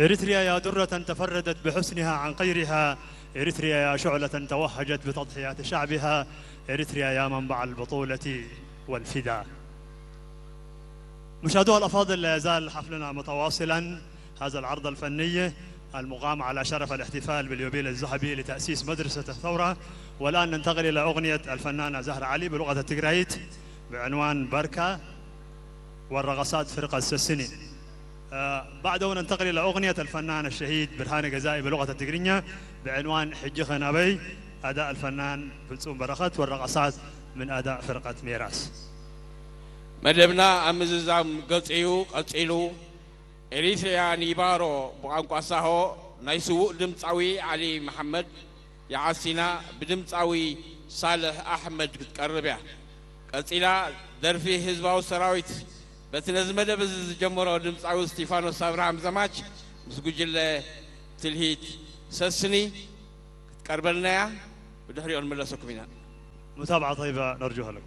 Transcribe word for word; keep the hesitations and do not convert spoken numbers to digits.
إريتريا يا درة تفردت بحسنها عن غيرها، إريتريا يا شعلة توهجت بتضحيات شعبها، إريتريا يا منبع البطولة والفدا. مشاهدونا الأفاضل، لا يزال حفلنا متواصلا، هذا العرض الفني المقام على شرف الاحتفال باليوبيل الذهبي لتأسيس مدرسة الثورة. والآن ننتقل إلى أغنية الفنانة زهرة علي بلغة التجريت بعنوان بركة، والرقصات فرقة سسني. آه، بعده ننتقل إلى أغنية الفنان الشهيد برهان جزائي بلغة التجرينية بعنوان حجخ نبي، أداء الفنان فلسون بركت، والرقصات من أداء فرقة ميراث. መደብና ኣብ ምዝዛም ገጽ እዩ ቀጺሉ። ኤሪትርያ ኒባሮ ብቋንቋ ሳሆ ናይ ስዉእ ድምጻዊ ዓሊ መሓመድ የዓሲና ብድምጻዊ ሳልሕ ኣሕመድ ክትቀርብ እያ። ቀጺላ ደርፊ ህዝባዊ ሰራዊት በቲ ነዚ መደብ እዚ ዝጀመሮ ድምጻዊ እስቲፋኖስ ኣብርሃም ዘማች ምስ ጉጅለ ትልሂት ሰስኒ ክትቀርበልና እያ። ብድሕሪኦ ንመለሰኩም ኢና። متابعة طيبة نرجوها لكم.